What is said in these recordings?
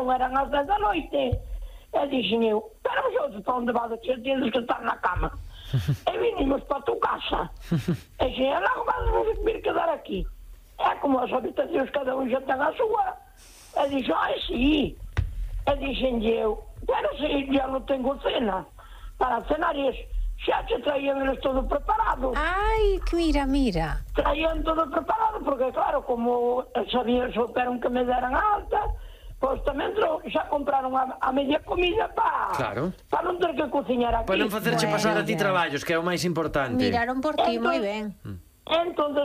non eran as 10 da noite. E dixen eu, pero vosotros para onde vades, que tienes que estar na cama. E vinimos para a tua casa. E dixen, logo vamos vir quedar aquí. É como as habitacións cada un xa ten a súa. E dixen, ai, sí. E dixen eu, pero se ya non tengo cena para cenar xa te traían eles todo preparado. Ai, mira. Traían todo preparado, porque claro, como sabían, souperon que me deran alta, pois tamén xa compraron a media comida para non ter que cociñar aquí. Para non facerche pasar a ti traballos, que é o máis importante. Miraron por ti, moi ben. Entón,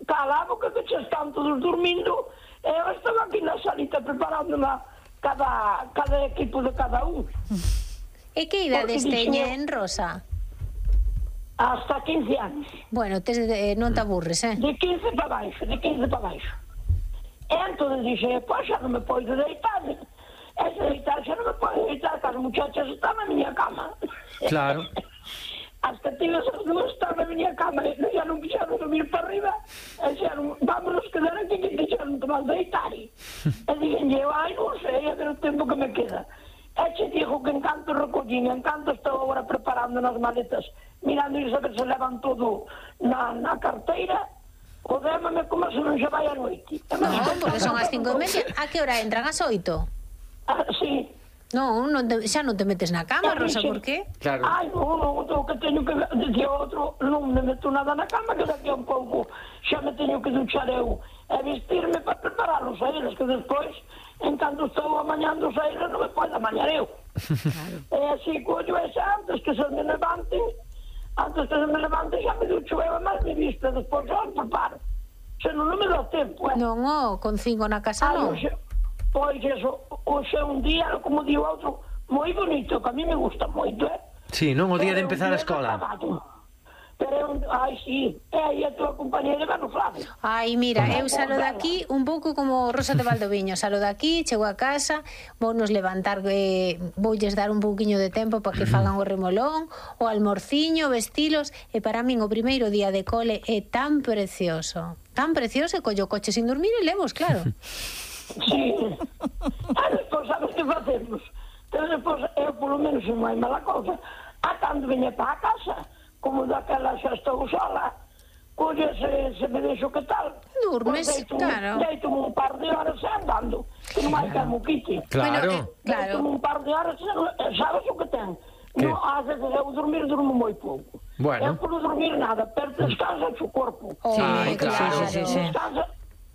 calabo que xa están todos dormindo, e eu estaba aquí na salita preparando cada equipo de cada un. E que idades teñen, Rosa? Hasta 15 anos. Bueno, non te aburres, De 15 para baixo. E entón dixe, pois xa non me podo deitar. E se deitar xa non me podo deitar, que as muchachas están na miña cama. Claro. Hasta tive esas dúas están na miña cama, e xa non quixeron subir para arriba, e xeron, vámonos quedar aquí, que quixeron tomar deitar. E dixen, ai, non sei, é o tempo que me queda. E che digo que encanto recollín, encanto estou agora preparando nas maletas, mirando e saber se levan todo na carteira, o démame como se non se vai a noite. Non, porque son as 5:30. A que hora entran? As 8? Sí. Non, xa non te metes na cama, Rosa, por qué? Claro. Ai, non, o que teño que dicir outro, non me meto nada na cama, que daqui a un pouco xa me teño que duchar eu e vestirme para prepararlos a eles, que despois, en canto estou amañando a eles, non me podo amañar eu. E así, collo esa, antes que se me levanten, xa me ducho eu, mas me visto, despois xa os preparo. Se non me dá tempo, Non, con 5 na casa non. Pois eso, hoxe é un día, como di o outro, moi bonito, que a mí me gusta moito, Sí, non o día de empezar a escola. Pero, ai, sí, e aí a tua compañera non sabe. Ai, mira, eu salo daqui un pouco como Rosa de Valdoviño, salo daqui, chego a casa, vounos levantar, voulles dar un pouquiño de tempo para que fagan o remolón, o almorciño, vestilos, e para min o primeiro día de cole é tan precioso, e collo coche sin dormir e levos, claro. Sí. Despois, sabes que facemos? Pero despois, eu, polo menos, non hai mala cosa. Cando veña para a casa, como daquela xa estou sola, colle se me deixo que tal. Durmes, claro. Deito-me un par de horas andando, que non hai que moquite. Claro. Deito-me un par de horas, sabes o que ten? Non, ás veces eu durmo moi pouco. Eu por dormir nada, pero descansa o corpo. Claro. Descansa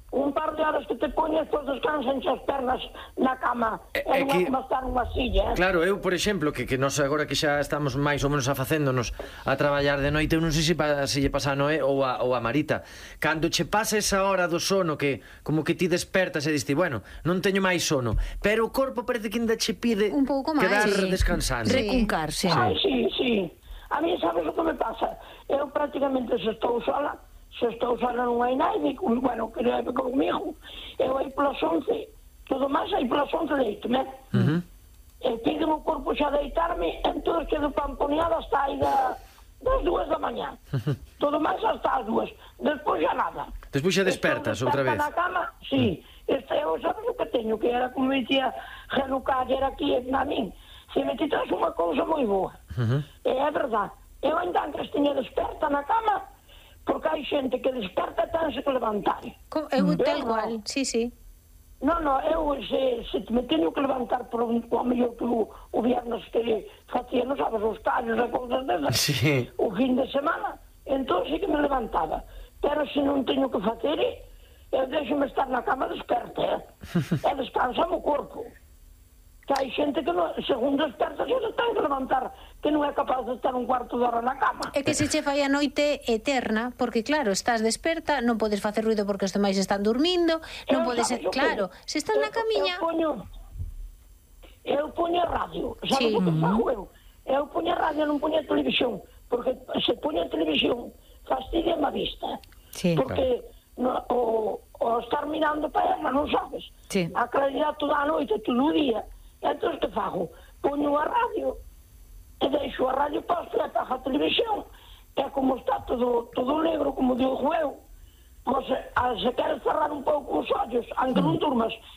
un par de horas que te poñes, pois descansan as pernas na cama, e non é como estar nunha silla. Claro, eu, por exemplo, que nos agora que xa estamos máis ou menos afacéndonos a traballar de noite, eu non sei se lle pasa a Noé ou a Marita, cando che pasa esa hora do sono, que como que ti despertas e diste, bueno, non teño máis sono, pero o corpo parece que ainda che pide un pouco máis, quedar descansando. Recuncarse. Ai, sí. A mí, sabes o que me pasa? Eu prácticamente, se estou sola non hai nadie, bueno, que leve comigo, eu aí polas 11, todo máis aí polas 11 deito-me, e piden o corpo xa deitarme, entón quedo pamponeada hasta aí das 2 da mañá, todo máis hasta as 2, despois xa nada. Despois xa despertas outra vez. Na cama, sí, eu sabes o que teño, que era como me dicía Genuca, era aquí na min, se me quitas unha cousa moi boa, e é verdad, eu ainda antes teña desperta na cama, porque hai xente que desperta e tense que levantar. Eu tal cual, sí. Non, eu se me teño que levantar por o mellor que o viernes que facía, non sabes, os callos e cousas desas, o fin de semana, entón sí que me levantaba. Pero se non teño que facer, eu deixo-me estar na cama desperta, e descansa o corpo. Que hai xente que, según desperta, se ten que levantar, que non é capaz de estar un cuarto de hora na cama. É que se che fai a noite eterna, porque claro, estás desperta, non podes facer ruido porque os demais están dormindo, non podes, claro, se estás na camiña... Eu poño a radio, sabes o que fago eu? Eu poño a radio, non poño a televisión, porque se poño a televisión, fastidia a vista. Porque o estar mirando para ela, non sabes? A claridade toda a noite, todo o día. Entón, que fago? Poño a radio e deixo a radio posta e apago a televisión, e como está todo negro, como digo eu, pois se queres cerrar un pouco os ollos, aunque non durmas,